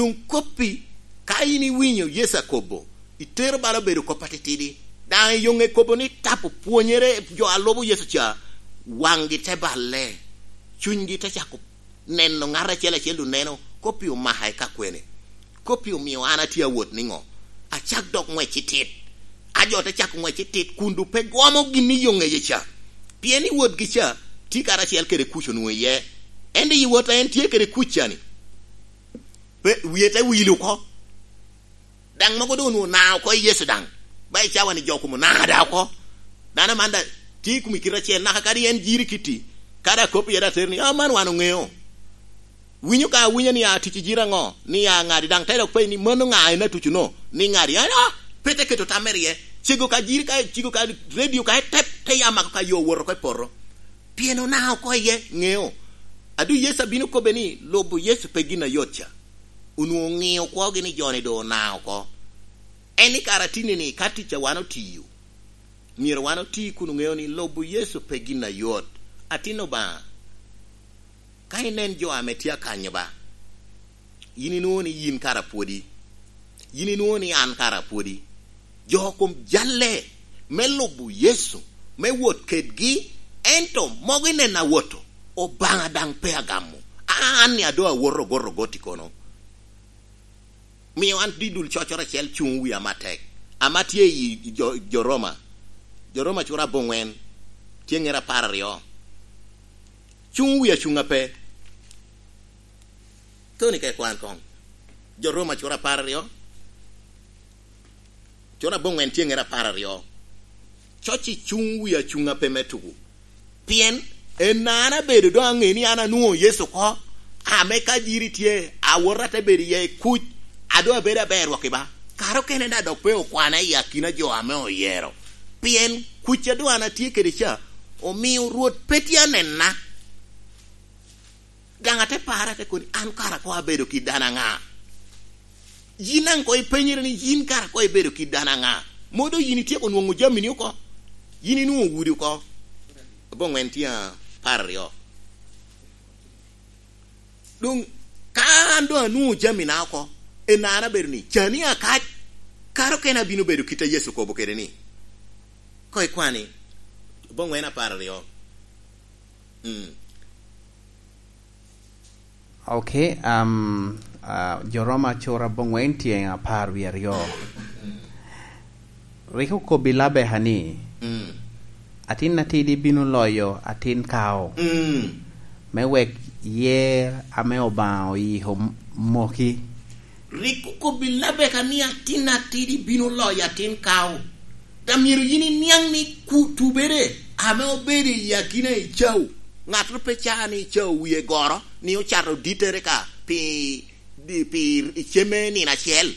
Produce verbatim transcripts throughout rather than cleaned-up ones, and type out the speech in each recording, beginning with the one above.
Doŋ koppi, ka in iwinyo Yecu akobo, itero bala obedo kop atitidi. Daŋ i yoŋe kobo ni tapo pwonyere jo a lubo Yecu ca, waŋgi te balle, cunygi te cako neno ŋat acel acel, oneno koppi omaka i ka kwene. Koppi omio an atye awot niŋo? Acak dok ŋwec itit. A jo te cako ŋwec itit kun doŋ pe gwomo gin i yoŋeye ca. Pien i wotgi ca, tye karacel kede kuc onwoŋo iye. Ento i wot a en tye kede kuc ca-ni, pe, wie te wil oko. Daŋ mogo doŋ onwoŋo ona oko i Yecu daŋ. Ba i cawa-ni jo kom ona da oko. Dano man daŋ tye i kom i kite acel, naka kadi en jiri kitti, kadi akop iye daŋ ater ni, "Ah, man wan oŋeo." Winyo ka awinya ni a tic i jiri aŋo, ni a ŋadi daŋ te dok penyo ni, "Mano ŋa en atuco-no?" Ni ŋadi, "An, ah, pe te keto tam mere iye." Cego ka jiri ka, cego ka redio ka etep, te ya mako ka yo wot oko i poto. Pien ona oko iye, ŋeo. A doŋ Yecu abino kobbe ni, lubo Yecu pe gin ayot ca. Onwoŋo oŋio kwogi ni jo-ni doŋ ona oko. En ni kara tinni-ni, ka tic a wan otiyo, myero wan oti kun oŋeo ni lubo Yecu pe gin ayot. Atin Obaŋa, ka inen jo ame tye akanyo ba, yin inwoŋo ni yin kara pwodi. Yin inwoŋo ni an kara pwodi. Jo kom jalle me lubo Yecu, me wot kedgi, ento mogo i nena awoto, Obaŋa daŋ pe agamo. An ni a doŋ awoto ogot ogot i kono. Mio an didul cocoro acel cuŋ wia matek. Ama tye i jo, jo Roma. Jo Roma cura aboŋwen, tye ŋera apar aryo. Cuŋ wia cuŋ ape. Toni ka ikwan koŋ. Jo Roma cura apar aryo. Cura aboŋwen tye ŋera apar aryo. Coc i cuŋ wia cuŋ ape me tuku. Pien en an abedo doŋ aŋe ni an anwoŋo Yecu oko, ame ka jiri tye, awota te bedo iye i kuc, a doŋ abedo aber wok i ba. Kara okene daŋ dok pe okwana i akina jo ame oyero. Pien kuc a doŋ an atye kede ca, omio Rwot pe tye anena. Daŋ ate pare, ate koni, "An kara koŋ abedo kit dano aŋa?" Yin daŋ koŋ ipenyere ni, "Yin kara koŋ ibedo kit dano aŋa?" Modo yin ityeko nwoŋo jamini oko? Yin inwoŋo udi oko? Aboŋwen tye apar aryo. Doŋ ka an doŋ anwoŋo jamina oko, en an abedo ni, "Cani akac, kara okene abino bedo kit a Yecu okobo kede ni." Koŋ ikwani, aboŋwen apar aryo. Mm. Ok, um, uh, jo Roma cura aboŋwen tye apar wie aryo. Rik okobbi Labeka ni, mm, "Atin atidi bino loyo atin kao, mm, me wek yer ame Obaŋa oyiko m-, moki." Rik okobbi Labeka ni, "Atin atidi bino loyo atin kao." Daŋ myero yin iniaŋ ni ku-, tubere ame obedo i akina Ecau, ŋattoro pe caa ni Ecau wie goro, ni ocato dittere ka pi, di-, pi iceme nino acel.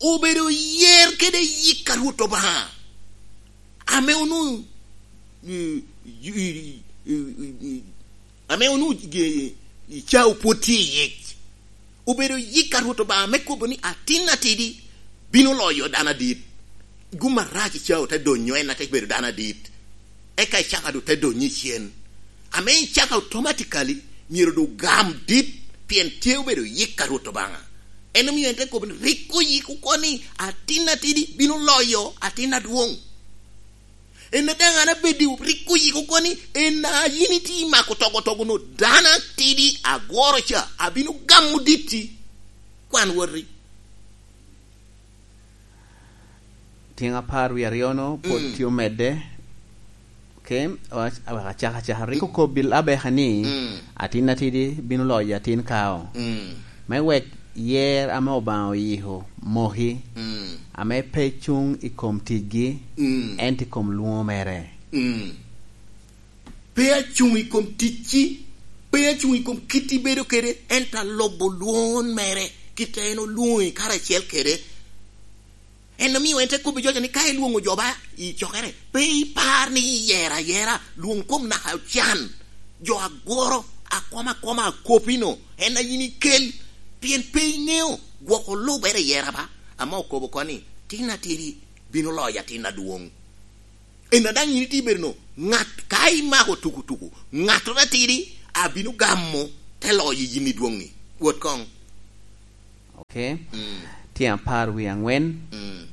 Obedo yer kede yik a Rwot Obaŋa, ame onwoŋo, i, i, ame onwoŋo, i, Ecau pwod tye i yic. Obedo yik a Rwot Obaŋa me kobo ni, "Atin atidi bino loyo dano adit." Gum arac Ecau te donyo, en ate bedo dano adit. Eka Icaka doŋ te donyo i cen. Ame Icaka automatically myero doŋ gam dit, pien tye obedo yik a Rwot Obaŋa. En omio en te kobo ni, "Rik oyik oko ni, atin atidi bino loyo atin adwoŋ." En a daŋ an abeddi rik oyiko oko ni, en a yin itye i mako togo togo no, dano atidi agworo ca, abino gamo ditti. Kwan woti. Tyeŋ apar wie aryo-no pwod, mm, tye omedde. Ok, awac-, awek acak acaka. Rik okobbi Labeka ni, mm, "Atin atidi bino loyo atin kao." Mm. Me wek yer ame Obaŋa oyiko moki, mm, ame pe cuŋ i kom ticgi, mm, ento i kom lwoŋo mere. Mm. Pe acuŋ i kom ticci, pe acuŋ i kom kit ibedo kede, ento alubo lwoŋo mere, kit a en olwoŋi karacel kede. En omio en te kobbi jo ni, "Ka ilwoŋo jo ba i cokere, pe ipar ni iyero ayera, lwoŋ kom naka ocan." Jo agworo, akoma akoma akopino, en a yin ikel, pien pe iŋeo gwoko lubere i yera ba, ame okobo oko ni, "Tin atidi bino loyo atin adwoŋ." En a daŋ yin itye bedo no, ŋat ka imako tukutuku, ŋattoro atidi abino gamo te loyo yin i dwoŋi. Wot koŋ. Okay? Mm. Tyen apar wie angwen. Mm.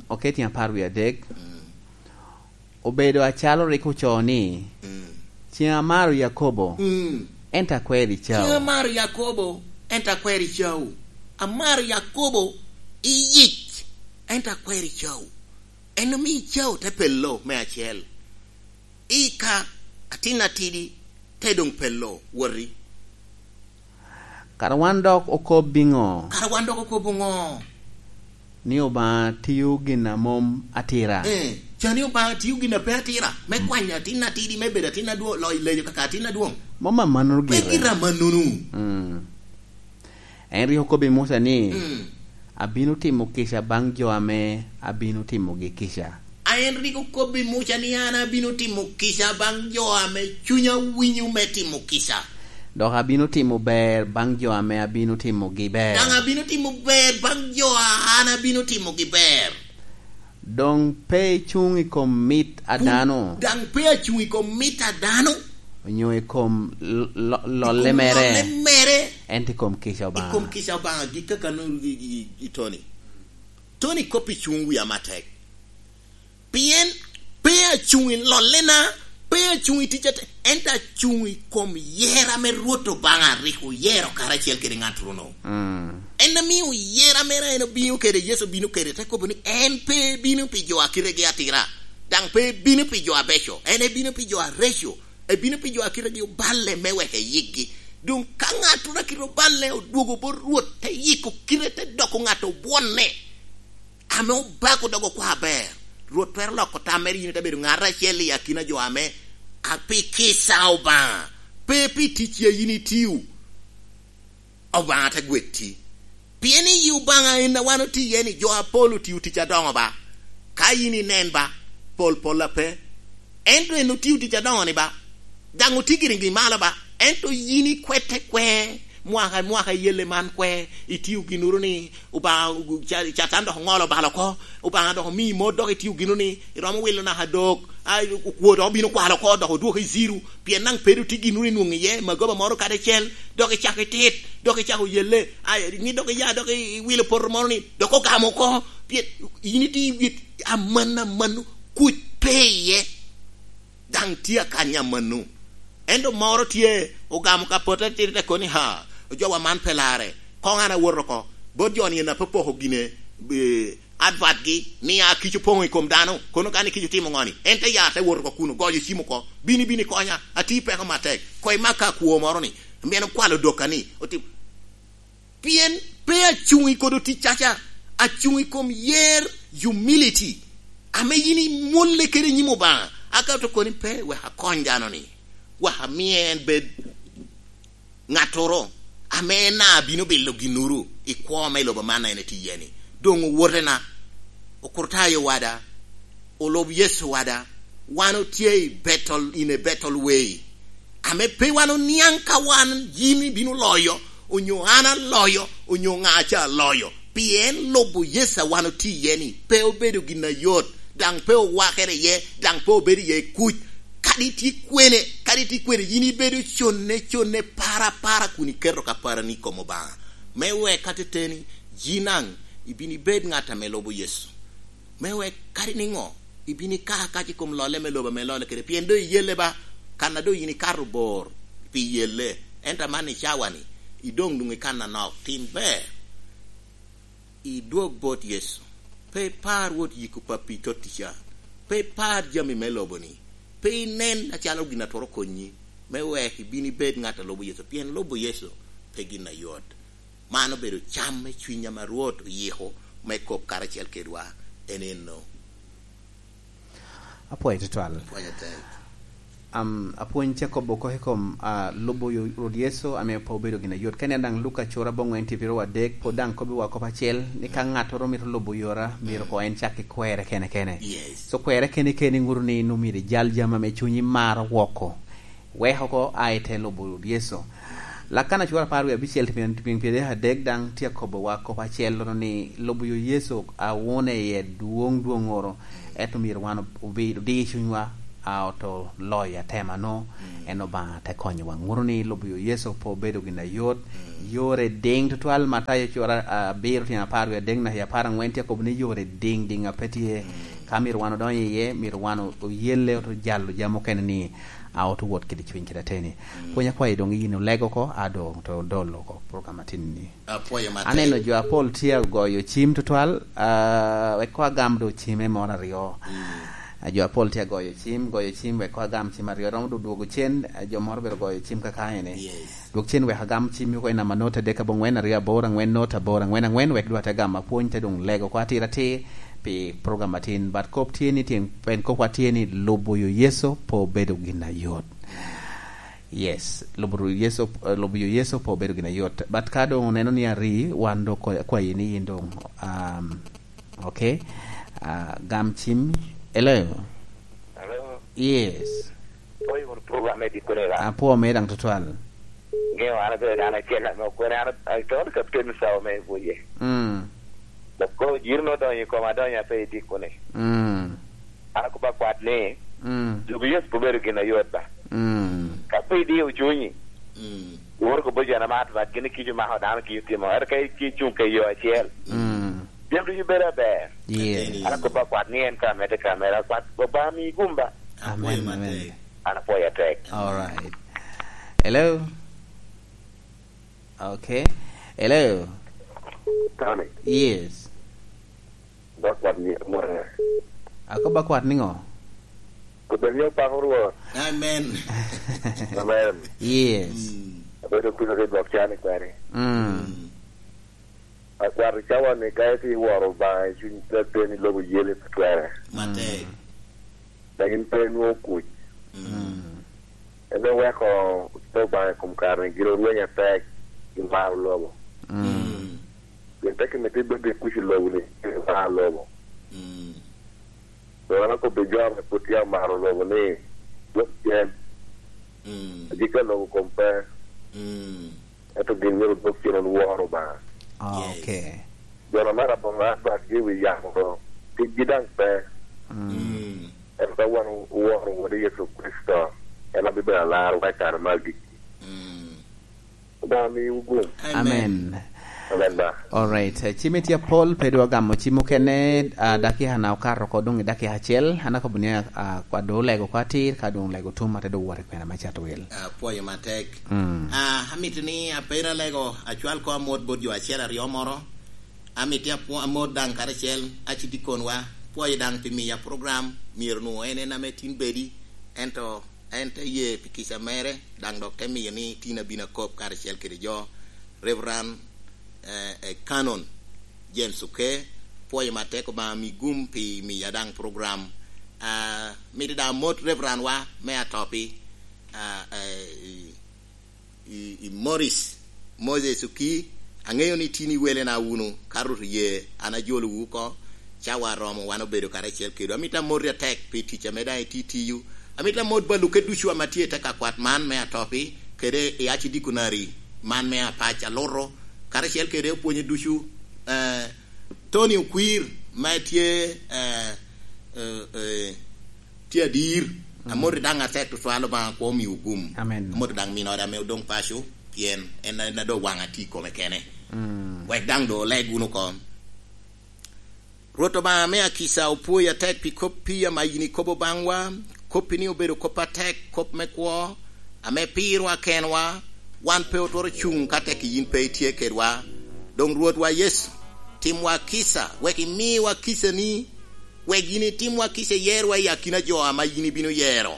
Okay, tyen apar wie adek. Mm. Obedo acalo rik ocoo ni, mm, "Ceŋ amaro Yakobo, mm, ento akwero Ecawu." Ceŋ amaro Yakobo, ento akwero Ecawu. Amaro Yakobo i yic, ento akwero Ecawu. En omio Ecawu te pello me acel. Ika, atin atidi, te doŋ pello, woti. Kara wan dok okob iŋo? Kara wan dok okob iŋo? Ni Obaŋa tio gin a mom atira. Eh, ca ni Obaŋa tio gin a pe atira, me, mm, kwanyo atin atidi, me bedo atin adwoŋ, loyo lejo kaka atin adwoŋ. Mom amannono gire. Pe gire amannono. Mm. En rik okobbi Muca ni, mm, "Abino timo kica baŋ jo ame abino timogi kica." A en rik okobbi Muca ni, "An abino timo kica baŋ jo ame cunya winyo me timo kica. Dok abino timo ber baŋ jo ame abino timogi ber. Daŋ abino timo ber baŋ jo a an abino timogi ber." Doŋ pe icuŋ i kom mit a dano. Daŋ pe acuŋ i kom mit a dano. Onyo i kom l-, lo-, lolle mere. I kom lolle mere. Ento i kom kica Obaŋa. I kom kica Obaŋa, gik kaka no-, i, i, i Tony. Tony kop i cuŋ wia matek. Pien pe acuŋ i lollena, pe acuŋ i tic ate-, ento acuŋ i kom yer ame Rwot Obaŋa rik oyero karacel kede ŋat runo. Mm. En amio yer a mere en obino kede, Yecu obino kede, te kobo ni en pe ebino pi jo a kitegi atira, daŋ pe ebino pi jo abeco, en ebino pi jo areco, ebino pi jo a kitegi oballe me wek eyikgi. Doŋ ka ŋattoro a kite oballe odwogo bot Rwot, te yiko kite, te doko ŋat obwonne, ame obako dok okwao aber, Rwot twero loko tam mere, yin ite bedo ŋat acel i akina jo ame a pi kica Obaŋa, pe pi ticci a yin itio, Obaŋa te gwetti. Pien iyi Obaŋa en a wan otio iye ni, jo apol otio tic adoŋo ba, ka yin inen ba, pol pol ape. Ento en otio tic adoŋo ni ba, daŋ otye giriŋ i malo ba, ento yin ikwete kwe, mwaka i mwaka iyelle man kwe, itio ginuru ni, Obaŋa, ca-, Catan dok oŋolo bal oko, Obaŋa dok omiyi mot, dok itio ginu ni, iromo wilo naka dok, a, okwo dok obino kwalo oko, dok odwoki i zero, pien daŋ pe dok tye ginuru inwoŋo iye, magoba moro kadi acel, dok icako itit, dok icako yelle, a, ni dok iya, dok i-, iwilo poto moro ni, dok ogamo oko, pien yin itye i wit aman, aman, kuc pe iye. Daŋ tye akanya amanno. Ento moro tye, ogamo ka pote tito te koni, "Ha, ojowa man pe larre. Koŋ an awoto oko." Bot jo-ni en apopoko gine, eh, advertgi, ni a kica opoŋo i kom dano, kono ka ni kica otimo ŋoni, en te ya te wot oko kuno, goyo cim oko, "Bini, bini konya, atye i peko matek. Koŋ imakka akwo moro-ni, mien okwalo dokka-ni, otim-" Pien pe acuŋ i kodo ticcaca, acuŋ i kom yer, humility, ame yin imwolle kede i nyim Obaŋa. Akato koni pe wek akony dano-ni, wek amie en bed ŋattoro ame en a bino bilo ginnuru i kwo me lobo man a en etye iye-ni. Doŋ owotena, Okrutayo wada, olub Yecu wada, wan otye i battle, in a battle way. Ame pe wan oniaŋ ka wan yin ibino loyo, onyo an aloyo, onyo ŋa ca aloyo. Pien lubo Yecu a wan otye iye-ni, pe obedo gin ayot, daŋ pe owakere iye, daŋ pe obedo iye kuc. Kadi itye kwene, kadi itye kwene, yin ibedo conne, conne, para, para, kun iketo ka parani i kom Obaŋa. Me wek ateteni, yin daŋ ibin ibed ŋat ame lubo Yecu. Me wek kadi niŋo, ibin ika kac i kom lolle me lobo ame lolle kede, pien doŋ iyelle ba, kan a doŋ yin ikato bor pi yelle, ento amanni i cawa-ni, idoŋ doŋ i kan anok, tim ber. Idwog bot Yecu. Pe ipar wot yiko pappi i totti ca. Pe ipar jami me lobo-ni. Pe inen acalo gin a twero konyi, me wek ibin ibed ŋat a lubo Yecu, pien lubo Yecu pe gin ayot. Man obedo cam me cwiny ame Rwot oyiko me kop karacel kedwa, en enno. Apwoyo tutwal. Apwoyo atek. Am, apwony ca kobo oko i kom, ah, lubo yo-, Rwot Yecu ame pe obedo gin ayot. Ka inen daŋ Luka cura aboŋwen tye pyeraryo adek, pwod daŋ kobbiwa kop acel, ni ka ŋattoro mito lubo yora, myero koŋ en cak ki kwerre kene kene. Yes. So kwerre kene kene ŋuto ni nwoŋo myero ijal jami ame cunyi maro woko. Wek oko a i te lubo Rwot Yecu. Lakana cura apar wie abicel, tyen pyeraryo adek daŋ tye akobowa kop acel, ni lubo yo Yecu awune iye dwoŋ dwoŋŋoro, ento myero wan obi-, odi cunywa, a oto loyo atema-nu, en Obaŋa te konyowa. Ŋuto ni lubo yo Yecu pe obedo gin ayot. Yore diŋ tutwal, Matayo cura abiro tyen apar wie adek naka apar aŋwen tye akobo ni yore diŋ diŋ a pe tye. Ka myero wan odonyo iye, myero wan o-, oyelle, oto jalo jami okene ni a oto wot kede cwiny kede ateni. Pwony akwayo doŋ yin olego oko, a doŋ to dolo oko program atin ni. Apwoyo matek. Aneno jo apol tye agoyo cim tutwal, ah, wek koŋ agam do cime moro aryo. Ah, jo apol tye agoyo cim, goyo cim wek koŋ agam cim aryo. Romo do dwogo cen, ah, jo moro bero goyo cim kaka ene. Yes. Dwog cen wek agam cim oko i namba note adek aboŋwen aryo aboro aŋwen note aboro aŋwen aŋwen, wek dwa te gamo apwony te doŋ lego oko atir atir pi program atin. But kop tye ni tyen, pen kopwa tye ni lubo yo Yecu pe obedo gin ayot. Yes, lubo Yecu, eh, lubo yo Yecu pe obedo gin ayot. But ka doŋ oneno ni ari, wan doŋ kwa-, kwayi ni yin doŋ, um, okay, ah, gam cim. Hello? Hello? Yes. Oyo wunu program me dikone ka? Apwo me daŋ tutwal. Ŋeo an abedo dano acel ame okwene, an a-, a-, Captain Sawa me Buye. Mm. Dok kono jiro no odonyo i koma, adonyo ape i dikone. Mm. An akobo akwat ni, mm, lubo Yecu pe obedo gin ayot ba. Mm. Ka pe idio cunyi, mm, iworo kobo jo na mat mat, gin kico mako dano kico timo. Ento ka i-, icuŋ ka i yo acel, mm, jami ducu bedo aber. Yes. An akobo akwat ni en ka amedde ka amedde, akwat Obaŋa mi gum ba. Amen, amen. An apwoyo atek. All right. Hello? Okay. Hello? Tony. Yes. Dok wat ni amore. Ako ba kwat niŋo? Kubed ni opako Rwot. Amen. Amen. Yes. Mm. Abedo kuno ki dwok cani kwene. Mm. Mm. Akwat i cawa ni ka iti iworo Obaŋa i cuny, te, te ni lobo yeli pe twere. Matek. Mm. Dok in pe inwoŋo kuc. Mm. En oweko te Obaŋa i kom kare-ni gin orweny atek i maro lobo. Mm. Pien te kimito ibed i kuc i lobo-ni, i maro lobo. Mm. Doŋ an akobbi jo ame pwod tye amaro lobo ni, dwok cen. Mm. Agikki a lobo kom pe. Mm. Ento gin myero odwog cen wunu woro Obaŋa. Ah, yes. Okay. Jo na maro aboŋo adwatgi i wi yamo do, ticgi daŋ pe. Mm. Mm. Ento ka wan oworo Wode Yecu Kricito, en abibedo alarwa i kare me agikki. Mm. Obaŋa miwu gum. Amen. Amen. Amen ba. All right. Cim itye apol, pe dwa gamo cim okene, ah, dakika na okato oko doŋ i dakika acel, an akobo ni, ah, kwa do olego oko atir, ka doŋ olego tum, ate do wot i kwena me cato wil. Ah, apwoyo matek. Mm. Ah, amito ni apedo alego acwal ko amot bot jo acel aryo moro. Amito apwo-, amot daŋ karacel, aci dikonwa, pwoyo daŋ pi miya program, myero nwoŋo en en ame tin bedi, ento en te ye pi kica mere, daŋ dok te miyo ni tin abino akop karacel kede jo. Reverend, eh, eh, Canon James Oke, pwoyo matek, Obaŋa mi gum pi miya daŋ program. Ah, mito daŋ amot Reverend wa me Atopi, ah, eh, i, i, i Morris, Moses Oki, aŋeyo ni tin iwelena wunu, ka Rwot oye, an ajolowu oko, cawa aromo, wan obedo karacel kedwu. Amito amoti atek pi tic ame daŋ itye tiyo. Amito amot bal oke ducu ame tye i te kakwat man me Atopi, kede i Archdeaconry man me Apac Aluto, karacel kede opwonye ducu, eh, Tony Okwir, ma tye, eh, eh, eh, tye adir. Mm. Amoti daŋ atek tutwal, Obaŋa kwo miwu gum. Amen. Amoti daŋ minode ame odoŋ paco, pien en, en a doŋ waŋ atye i kome kene. Mm. Wek daŋ doŋ oleg wunu oko. Rwot Obaŋa me akica, opwoyi atek pi koppi ame yin ikobo baŋwa, koppi ni obedo kop atek, kop me kwo, ame pirwa kenwa, wan pe otwero cuŋ ka tek yin pe itye kedwa. Doŋ Rwotwa Yecu, timwa kica, wek imiwa kicani, wek yin itimwa kica, iyerowa i akina jo ame yin ibino yero.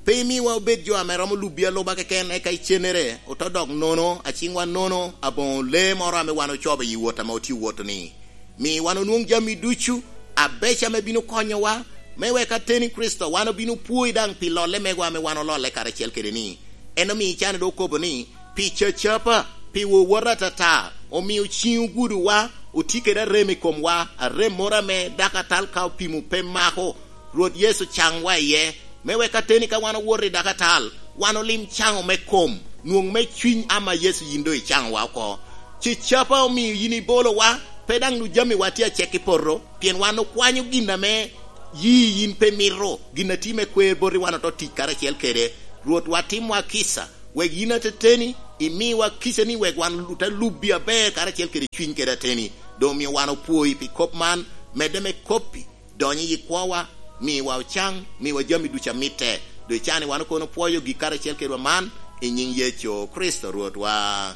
Pe imiwa obed jo ame romo lubi aluba keken, eka icennere oto dok nono, aciŋwa nono, aboŋo lee moro ame wan ocobo i wot ame otye woto-ni. Mi wan onwoŋ jami ducu abeco ame bino konyowa, me wek ateni Kricito wan obino pwoi daŋ pi lolle megwa ame wan ololle karacel kede-ni. En omio can doŋ okobo ni, pi cacapa, pi wowota atata, omio ciŋ ogudowa, otye kede arem i komwa, arem moro ame dakatal ka opimo pe mako. Rwot Yecu caŋwa iye, me wek ateni ka wan owoto i dakatal, wan olim caŋo me kom, nwoŋ me cwiny ama Yecu yin doŋ icaŋowa oko. Cacapa omio yin ibolowa, pe daŋ nu jamiwa tye acek i poto, pien wan okwanyo gin ame Yi yin pe mito gin a tye me kwer boti wan oto tic karacel kede. Rwotwa, timwa kica, wek yin ateteni imiwa kica ni wek wan ote lubbi aber karacel kede cwiny kede ateni. Doŋ omio wan opwoi pi kop man, medde me koppi, donyo i kwowa, miwa ocaŋ, miwa jami ducu a mitte. Doŋ ican ni wan okono pwoyo gik karacel kedwa man, i nyiŋ Yecu Kricito Rwotwa.